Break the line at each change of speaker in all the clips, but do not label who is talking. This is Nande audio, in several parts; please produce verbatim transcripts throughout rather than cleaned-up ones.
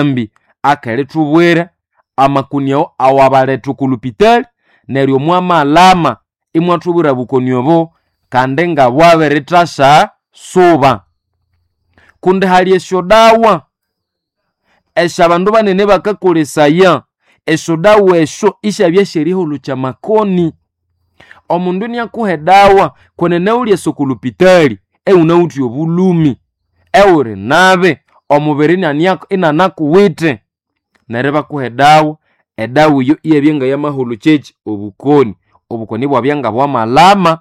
Ambi akerithubwira amakoni awo awabaletha oko lupitali neryo mwamalama imwathubwira obukoni obo kandi nga bwabirithasya suba. Kundi hali esyodawa esyabandu banene bakakolesaya, esyodawa esyo isyabya syerihulukya amakoni. Omundu iniakuha edawa kwenene wulyasa oko lupitali iwunawithe obulhumi, iwuli nabi, omubiri inanakuwithe, neryo ibakuha edawa, edawa eyo iyabya ngayamahulukya ekyi obukoni. Obukoni ibwabya ngabwamalama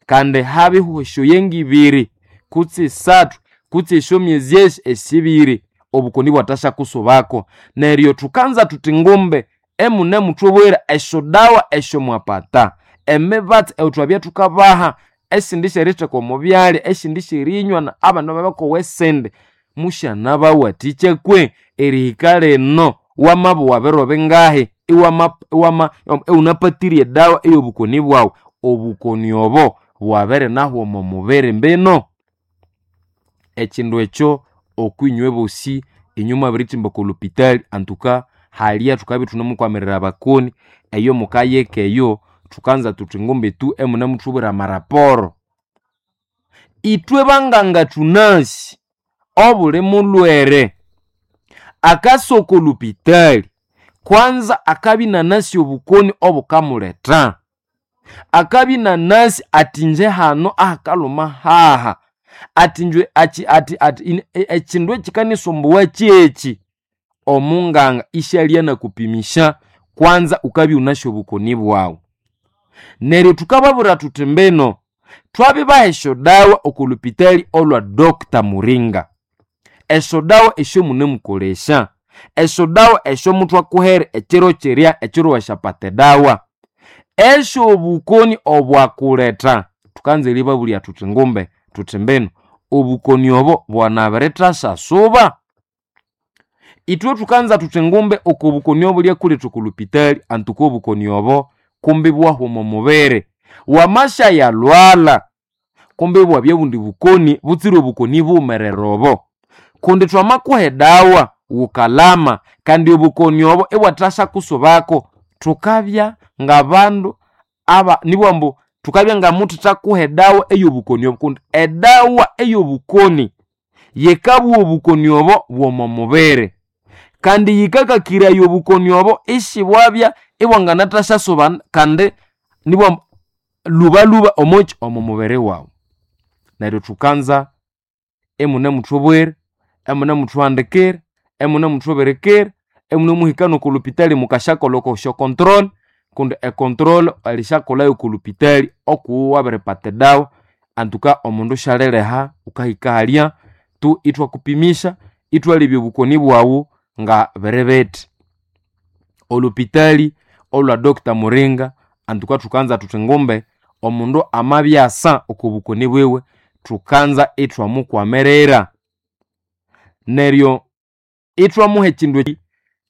kandi habihwa esyoya ngibiri kutse isathu kutse esyomyezi esi esibiri obukoni ibwathasyakusubako. Neryo thukanza thuthi ngumbe imunemuthubwira esyodawa esyomwapata, emibatsi eyathwabya thukabaha, esindi syeritheka omo byalya, esindi syerinywa, abandi bakowa esindi, musyanabawathikya kwe erihika lino wamabugha biro bingahi iwama iwama iwunapatire edawa ey'obukoni bwawu, obukoni obo bwabirinahwa omo mubiri mbino? Ekindu ekyo okwinywe bosi inywe mwabirithimba oko lupitali antuka halya thukabya ithunemukwamirira abakoni eyo mukayika eyo thukanza thuthi ngumbi tu imunemuthubwira amaraporo. Ithwe banganga thunasi obuli mulhwere akasa oko lupitali kwanza akabya inanasi obukoni obukamuletha, akabya inanasi athi inje hano ahakalhuma haha, athi inje athi athi athi ekindu ekikanisumbuwa kyekyi, omunganga isyalya anakupimisya kwanza wukabya iwunasi obukoni bwawu. Neryo thukababwira thuthi mbino thwabibaha esyodawa oko lupitali olwa Doctor Muringa, esyodawa esyomunemukolesya, esyodawa esyomuthwakuhere ekiro kirya ekiro wasyapata edawa, esyobukoni obwakuletha, thukanza eribabulya thuthi ngumbe thuthi mbino obukoni obo bwanabirithasya suba. Ithwe thukanza thuthi ngumbe oko bukoni obulyakuletha oko lupitali antuka obukoni obo kumbi ibwahwa omo mubiri, wamasyayalhwalha kumbi ibwabya obundi bukoni butsire obukoni bughumerere obo. Kundi thwamakuha edawa wukalama kandi obukoni obo ibwathasyakusubako, thukabya ngabandu aba nibugha ambu thukabya ngamuthithakuha edawa ey'obukoni obo kundi edawa ey'obukoni yikabugha obukoni obo bw'omo mubiri kandi yikakakiraya obukoni obo isibwabya ibwanganathasya kandi nibugha ambu lhubalhuba omokyi omo mubiri wawu. Neryo thukanza imunemuthubwira, imunemuthuhandikira, imunemuthubirikira, imunemuhika n'oko lupitali mukasyakolha oko syo control kundi e control alisyakolhayo oko lupitali okuwu wabiripata edawa antuka omundu syaliliha wukahika halya tu ithwakupimisya ithwalebya obukoni bwawu nga biri bithi. Olupitali olwa Doctor Muringa antuka thukanza thuthi ngumbe omundu amabya asa oko bukoni bwiwe thukanza ithwamukwamirira. Neryo ithwamuha ekindu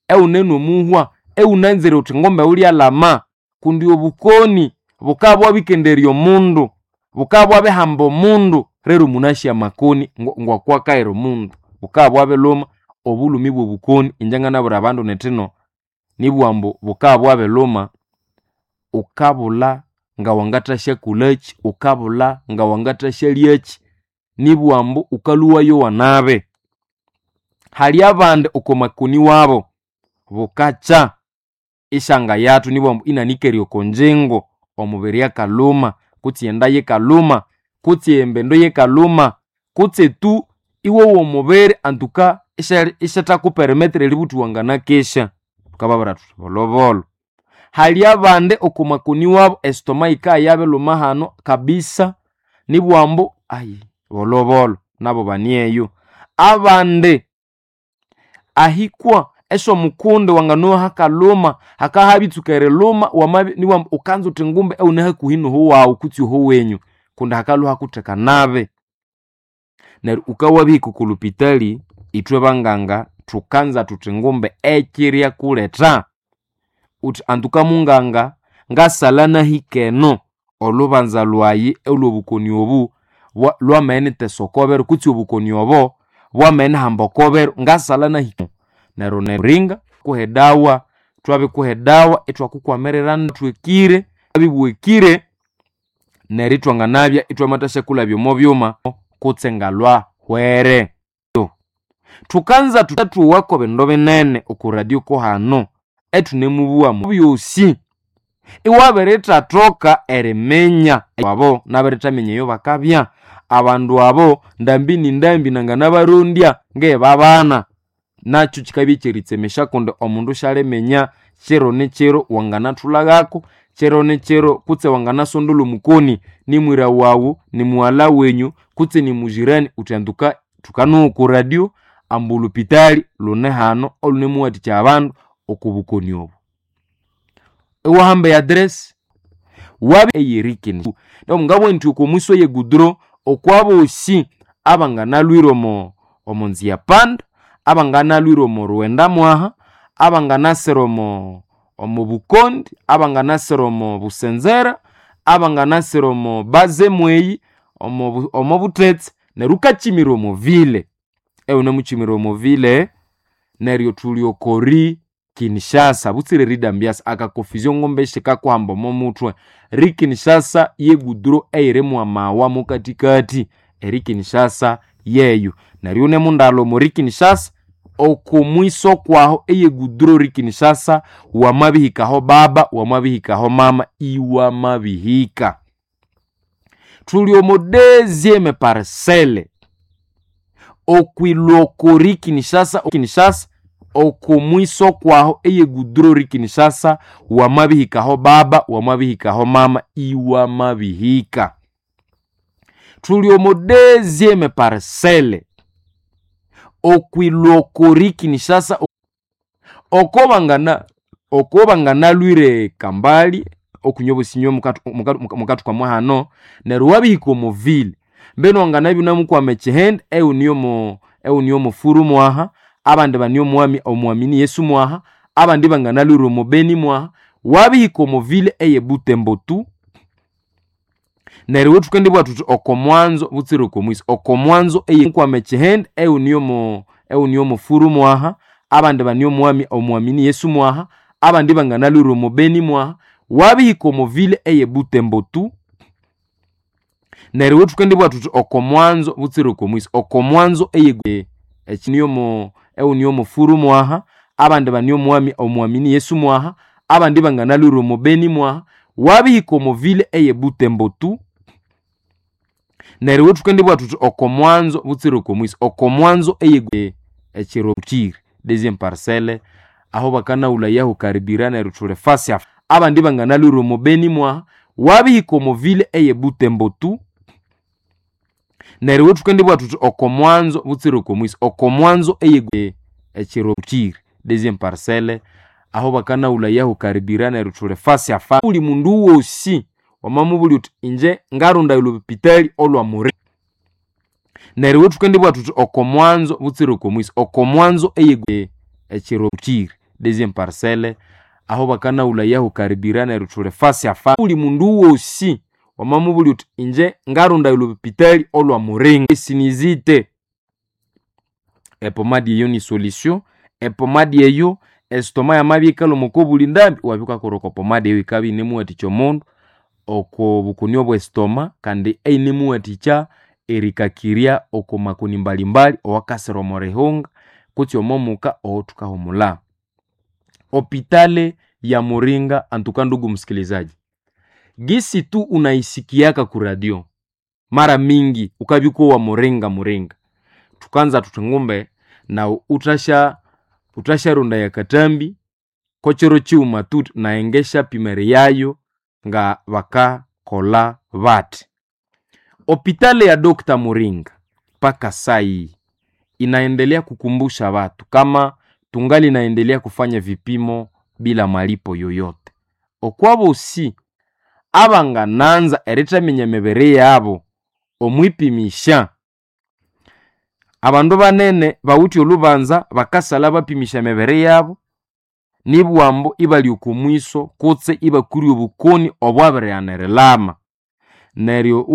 ewune nomuhwa ewunanzire wuthi ngumbe wulyalhama kundi obukoni bukabya bwabikenderya omundu, bukabya bwabihamba omundu rero munasya amakoni ng'okwakahera omundu, bukabya bwabilhuma obulhumi bw'obukoni inje nganabwira abandu nithino nibugha ambu bukabya bwabilhuma wukabulha ngawangathasyakolhakyi, wukabulha ngawangathasyalyakyi, nibugha ambu wukalhuwayowa nabi. Hali abandi oko makoni wabo bukakya isyangayathu nibugha ambu inanikere oko ngyingo, omubiri akalhuma kutse enda yikalhuma kutse embindu yikalhuma kutse tu iwowa omubiri antuka isyathakupermettre eribugha wuthi wanganakesya, thukababwira thuthi bolhobolho. Hali abandi oko makoni wabo estoma yikabya yabilhuma hano kabisa nibugha ambu ayi bolhobolho nabo banieyo. Abandi ahikwa esyomukundi wanganowa hakalhuma hakabya habitsuka erilhuma wamabya nibugha ambu wukanza wuthi ngumbe iwune hakuhi noho wawu kutse ohowenyu kundi hakalhwa hakutheka nabi. Neryo wukabya wabihika oko lupitali ithwe banganga thukanza thuthi ngumbe ekiryakuletha wuthi antuka munganga ngasalha nahika eno olhubanza lwayi olw'obukoni obu lwamaghana erithesa okobiro kutse obukoni obo bwamaghana erihamba okobiro ngasalha nahika. Neryo neringa kuhedawa twabikuhedawa itwakukwamirira twekire abibwekire neryo itwanganabya itwamathasyakulhabya omo byuma kutse ngalwa hwere. Thukanza thuwako bindu binene oku radio kuhano ethunemubuwa byosi iwabirithathoka eriminya abo nabirithamenya eyo bakabya abandu abo ndambi ni ndambi nanganabarondya ngebabana nakyo kikabya ekyeritsemesya kundi omundu syaliminya kiro ni kiro wanganathulhaghako kiro ni kiro kutse wanganasondolha omukoni nimwira wawu nimughalha wenyu kutse nimujirani uthanduka thukanowa oku radio ambu olhupitali lune hano olunemuwathikya abandu oku bukoni obu. Iwahamba eaddress wabi eyerikini ngabugha indi oko mwiso eye goudron okwabosi abanganalhwire omo omonzia panda abanganalhwire omo rughenda mwaha abanganasira omo omo bukondi abanganasira omo busenzera abanganasira omo baze mweyi omo omo buthetse neryo wukakimira omo ville ewunemukyimira omo ville neryo thuli okori Kinshasa butsire ridambiasa akaconfusion ngombe shikakuhamba omo muthwe. Ri Kinshasa ye goudron eyiri mwamawa mukathikathi eri Kinshasa yeyo neryo wunemundalha omo ri Kinshasa oko mwiso kwaho eye goudron ri Kinshasa wamabihikaho baba wamabihikaho mama iwamabihika. Thuli omo deuxième parcelle okwilhwa ri Kinshasa Kinshasa oko mwiso kwaho eye goudron ri Kinshasa wamabihikaho baba wamabihikaho mama iwamabihika. Thuli omo deuxième parcelle okwilhwa ri Kinshasa oko bangana oko banganalhwire kambali okunywa obusinywa mukathuka mwahano neryo wabihika omo ville mbinu wanganabya iwunemukwama ekyihindi ewuniyomo ewuniyo mwaha abandi bane omwami omwamini Yesu mwaha abandi banganalhwire omo Beni mwaha wabihika omo ville eye Butembo tu neryo ithukendibugha thuthi oko mwanzo butsire oko mwiso oko mwanzo eyekwama ekyihindi ewuniyomo ewuniyo furu mwaha abandi bane omwami omwamini Yesu mwaha abandi banganalhwire omo Beni mwaha wabihika omo ville eye Butembo tu neryo ithukendibugha thuthi oko mwanzo butsire oko mwiso oko mwanzo eye ekiniyomo ewuniyo furu mwaha abandi bane omwami omwamini Yesu mwaha abandi banganalhwire omo Beni mwaha wabihika omo ville eye Butembo tu neryo ithukendibugha thuthi oko mwanzo butsire oko mwiso oko mwanzo eye ekiro kiri deuxième parcelle aho bakanawulayaho karibira neryo thuli fasi abandi banganalhwire omo Beni mwaha wabihika omo ville eye Butembo tu neryo ithukendibugha thuthi oko mwanzo butsire oko mwiso oko mwanzo eye ekiro kiri deuxième parcelle aho bakanawulayaho karibira neryo thuli fasi afa buli mundu wosi wamamubulya uthi inje ngarondaya olhupitali olwa muri neryo ithukendibugha thuthi oko mwanzo butsire oko mwiso oko mwanzo eye ekiro kiri deuxième parcelle aho bakanawulayaho karibira neryo thuli fasi afa buli mundu wosi wamamubulya uthi inje ngarondaya olhupitali olwa muringa esinizite epomadi eyo ni solution epomadi eyo esitoma yamabya ikalhuma oko buli ndambi iwabya wukakolha oko pomadi eyo yikabya iyinemuwathikya omundu oko bukoni obwe esitoma kandi eyinemuwathikya erikakirya oko makoni mbalimbali owakasira omo rihunga kutse omo muka owothukahumulha. Hopitale ya Muringa antuka ndugu msikilizaji, gisi tu unaisikiaka ku radio mara mingi ukabya wa Muringa Muringa thukanza thuthi ngumbe nawu uthasya uthasyaronda katambi kochiro chighuma tu naye ngesyapima eriyayo nga bakakolha bathi. Hopitale ya Doctor Muringa mpaka sai inaendelea kukumbusha watu kama tungali naendelea kufanya vipimo bila malipo yoyote. Okwabosi abangananza erithaminya emibiri yabo omwipimisha abandu banene bawithe olhubanza bakasalha bapimisha emibiri yabo nibwambu ibali oko mwiso kutse ibakwire obukoni obwabirighana erilama neryo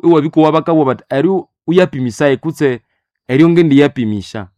iwabikowa bakabugha bathi eryo wuyapimisaye kutse eryo ngendiyapimisha.